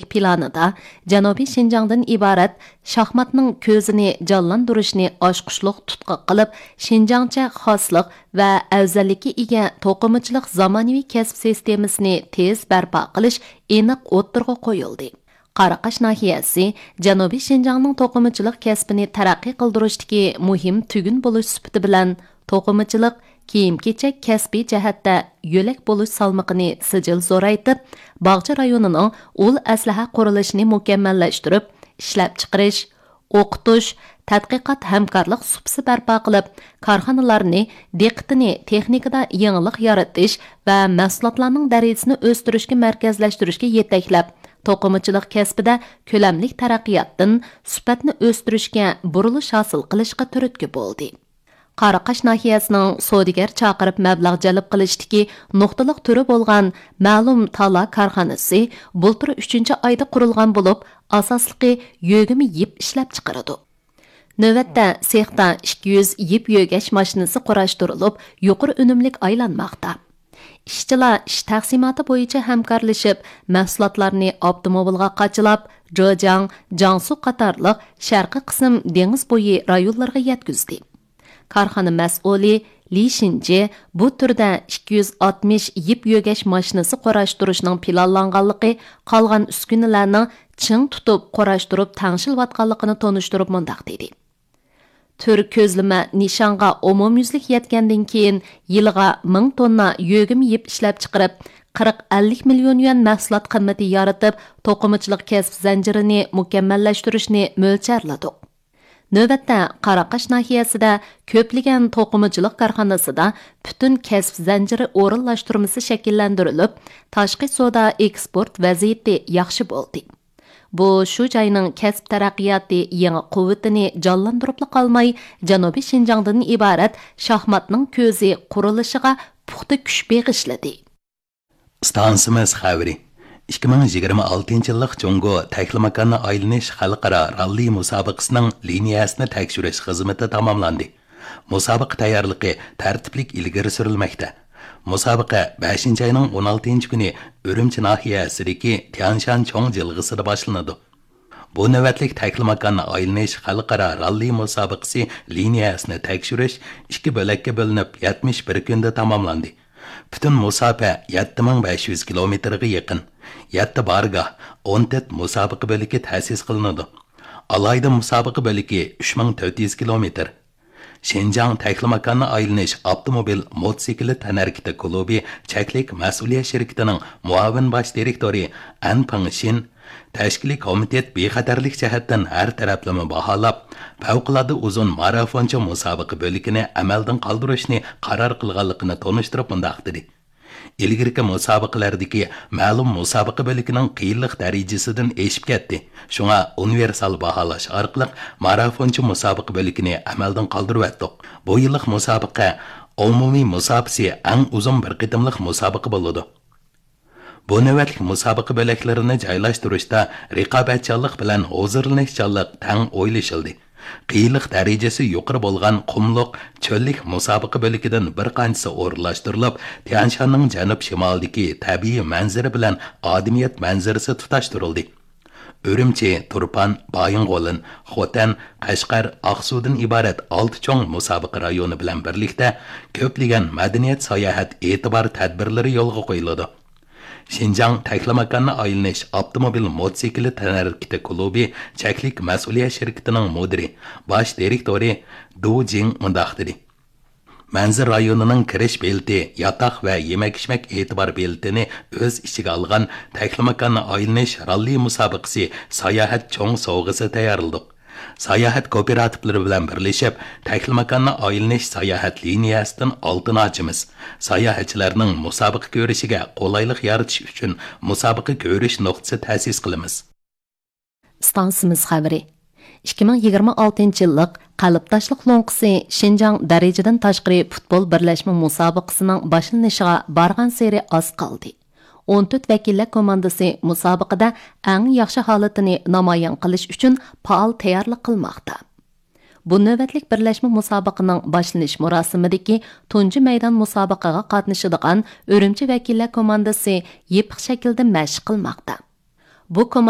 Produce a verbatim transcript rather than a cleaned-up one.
پىلانىدا جەنۇبىي شىنجاڭدىن ئىبارەت شاھماتنىڭ كۆزىنى جانلاندۇرۇشنى ئاچقۇچلۇق تۇتقا قىلىپ، شىنجاڭچە خاسلىق ۋە ئەۋزەللىككە ئىگە توقۇمىچىلىق زامانىۋى كەسىپ سىستېمىسىنى تېز بەرپا قىلىش ئېنىق ئوتتۇرىغا قويۇلدى. قاراقاش ناھىيەسى جەنۇبىي شىنجاڭنىڭ توقۇمىچىلىق كەسپىنى تەرەققىي قىلدۇرۇشتىكى مۇھىم تۈگۈن بولۇش سۈپىتى بىلەن، توقۇمىچىلىق، كىيىم-كېچەك كەسپىي جەھەتتە يۆلەك بولۇش سالمىقىنى سىجىل زورايتىپ، باغچە رايونىنىڭ ئۇل ئەسلىھە قۇرۇلۇشىنى مۇكەممەللەشتۈرۈپ، ئىشلەپچىقىرىش، ئوقۇتۇش، تەتقىقات ھەمكارلىق سۇپىسى بەرپا قىلىپ، كارخانىلارنى دىققىتىنى تېخنىكىدا يېڭىلىق يارىتىش ۋە مەھسۇلاتلارنىڭ دەرىجىسىنى ئۆستۈرۈشكە مەركەزلەشتۈرۈشكە يېتەكلەپ، توقۇمىچىلىق كەسپىدە كۆلەملىك تەرەققىياتتىن سۈپەتنى ئۆستۈرۈشكە بۇرۇلۇش ھاسىل قىلىشقا تۈرتكە بولدى. قاراقاش ناھىيەسىنىڭ سودىگەر چاقىرىپ مەبلەغ جەلپ قىلىشتىكى نۇقتىلىق تۈرى بولغان مەلۇم تالا كارخانىسى بۇلتۇر ئۈچىنچى ئايدا قۇرۇلغان بولۇپ، ئاساسلىقى يۆگىمە يىپ ئىشلەپچىقىرىدۇ. نۆۋەتتە سېختا ئىككى يۈز يىپ يۆگەش ماشىنىسى قۇراشتۇرۇلۇپ، يۇقىرى ئۈنۈملۈك ئايلانماقتا. ئىشچىلار ئىش تەقسىماتى بويىچە ھەمكارلىشىپ، مەھسۇلاتلارنى ئاپتوموبىلغا قاچىلاپ، جېجياڭ، جياڭسۇ قاتارلىق شەرقىي قىسىم دېڭىز بويى رايونلىرىغا يەتكۈزدى. كارخانا مەسئۇلى لى شىنجى بۇ تۈردە ئىككى يۈز ئاتمىش يىپ يۆگەش ماشىنىسى قۇراشتۇرۇشنىڭ پىلانلانغانلىقى، قالغان ئۈسكۈنىلەرنىڭ چىڭ تۇتۇپ قۇراشتۇرۇپ تەڭشىلىۋاتقانلىقىنى تونۇشتۇرۇپ مۇنداق دېدى: تۈر كۆزلىمە نىشانغا ئومۇميۈزلۈك يەتكەندىن كېيىن، يىلىغا مىڭ توننا يۆگىمە يىپ ئىشلەپچىقىرىپ، قىرىق ئەللىك مىليون يۈەن مەھسۇلات قىممىتى يارىتىپ، توقۇمىچىلىق كەسىپ زەنجىرىنى مۇكەممەللەشتۈرۈشنى مۆلچەرلىدۇق. نۆۋەتتە قاراقاش ناھىيەسىدە كۆپلىگەن توقۇمىچىلىق كارخانىسىدا پۈتۈن كەسىپ زەنجىرى ئورۇنلاشتۇرمىسى شەكىللەندۈرۈلۈپ، تاشقى سودا ئېكسپورت ۋەزىيىتى ياخشى بولدى. بۇ شۇ جاينىڭ كەسىپ تەرەققىياتى يېڭى قۇۋۋىتىنى جانلاندۇرۇپلا قالماي، جەنۇبىي شىنجاڭدىن ئىبارەت شاھماتنىڭ كۆزى قۇرۇلۇشىغا پۇختا كۈچ بېغىشلىدى. ئىستانسىمىز خەۋىرى. ئىككى مىڭ يىگىرمە ئالتىنچى يىللىق جۇڭگو تەكلىماكاننى ئايلىنىش خەلقئارا راللى مۇسابىقىسىنىڭ لىنىيەسىنى تەكشۈرۈش خىزمىتى تاماملاندى. مۇسابىقە تەييارلىقى تەرتىپلىك ئىلگىرى سۈرۈلمەكتە. مۇسابىقە بەشىنچى ئاينىڭ ئون ئالتىنچى كۈنى ئۈرۈمچى ناھىيەسىدىكى تيانشان چوڭ جىلغىسىدا باشلىنىدۇ. بۇ نۆۋەتلىك تەكلىماكاننى ئايلىنىش خەلقئارا راللى مۇسابىقىسى لىنىيەسىنى تەكشۈرۈش ئىككى بۆلەككە بۆلۈنۈپ، يەتمىش بىر كۈندە تاماملاندى. پۈتۈن مۇساپە يەتتە مىڭ بەش يۈز كىلومېتىرغا يېقىن. يەتتە بارگاھ، ئون تۆت مۇسابىقە بۆلىكى تەسىس قىلىنىدۇ. ئالاھىدە مۇسابىقە بۆلىكى ئۈچ مىڭ تۆت يۈز كىلومېتىر. شىنجاڭ تەكلىماكاننى ئايلىنىش ئاپتوموبىل موتوسىكلىت تەنھەرىكىتى كۇلۇبى چەكلىك مەسئۇلىيەت شىركىتىنىڭ مۇئاۋىن باش دىرېكتورى ئەن پېڭشىن تەشكىلىي كومىتېت بىخەتەرلىك جەھەتتىن ھەر تەرەپلىمە باھالاپ، پەۋقۇلئاددە ئۇزۇن مارافونچە مۇسابىقە بۆلىكىنى ئەمەلدىن قالدۇرۇشنى قارار قىلغانلىقىنى تونۇشتۇرۇپ مۇنداق دېدى: ئىلگىرىكى مۇسابىقىلەردىكى مەلۇم مۇسابىقە بۆلىكىنىڭ قىيىنلىق دەرىجىسىدىن ئېشىپ كەتتى. شۇڭا ئۇنىۋېرسال باھالاش ئارقىلىق مارافونچە مۇسابىقە بۆلىكىنى ئەمەلدىن قالدۇرۇۋەتتۇق. بۇ يىللىق مۇسابىقە ئومۇمىي مۇساپىسى ئەڭ ئۇزۇن بىر قېتىملىق مۇسابىقە بولىدۇ. بۇ نۆۋەتلىك مۇسابىقە بۆلەكلىرىنى جايلاشتۇرۇشتا رىقابەتچانلىق بىلەن ھۇزۇرلىنىشچانلىق تەڭ ئويلىشىلدى. قىيىنلىق دەرىجىسى يۇقىرى بولغان قۇملۇق، چۆللۈك مۇسابىقە بۆلىكىدىن بىر قانچىسى ئورۇنلاشتۇرۇلۇپ، تيانشاننىڭ جەنۇب-شىمالىدىكى تەبىئىي مەنزىرە بىلەن ئادىمىيەت مەنزىرىسى تۇتاشتۇرۇلدى. ئۈرۈمچى، تۇرپان، بايىنغولىن، خوتەن، قەشقەر، ئاقسۇدىن ئىبارەت ئالتە چوڭ مۇسابىقە رايونى بىلەن بىرلىكتە كۆپلىگەن مەدەنىيەت، ساياھەت، ئېتىبار تەدبىرلىرى يولغا قويۇلىدۇ. شىنجاڭ تەكلىماكاننى ئايلىنىش ئاپتوموبىل موتوسىكلىت تەنھەرىكىتى كۇلۇبى چەكلىك مەسئۇلىيەت شىركىتىنىڭ مۇدىرى، باش دىرېكتورى دۇ جىڭ مۇنداق دېدى: مەنزىرە رايونىنىڭ كىرىش بېلىتى، ياتاق ۋە يېمەك-ئىچمەك ئېتىبار بېلىتىنى ئۆز ئىچىگە ئالغان تەكلىماكاننى ئايلىنىش راللى مۇسابىقىسى ساياھەت چوڭ سوۋغىسى تەييارلىدۇق. ساياھەت كوپىراتىپلىرى بىلەن بىرلىشىپ، تەكلىماكاننى ئايلىنىش ساياھەت لىنىيەسىدىن ئالتۇن ئاچىمىز. ساياھەتچىلەرنىڭ مۇسابىقە كۆرۈشىگە قولايلىق يارىتىش ئۈچۈن مۇسابىقە كۆرۈش نۇقتىسى تەسىس قىلىمىز. ئىستانسىمىز خەۋىرى. ئىككى مىڭ يىگىرمە ئالتىنچى يىللىق قەلبداشلىق لوڭقىسى شىنجاڭ دەرىجىدىن تاشقىرى پۇتبول بىرلەشمە مۇسابىقىسىنىڭ باشلىنىشىغا بارغانسېرى ئاز قالدى. ئون تۆت ۋەكىللەر كوماندىسى مۇسابىقىدە ئەڭ ياخشى ھالىتىنى نامايان قىلىش ئۈچۈن پائال تەييارلىق قىلماقتا. بۇ نۆۋەتلىك بىرلەشمە مۇسابىقىنىڭ باشلىنىش مۇراسىمىدىكى تۇنجى مەيدان مۇسابىقىگە قاتنىشىدىغان ئۈرۈمچى ۋەكىللەر كوماندىسى يېپىق شەكىلدە مەشىق قىلماقتا. بۇ كوماندا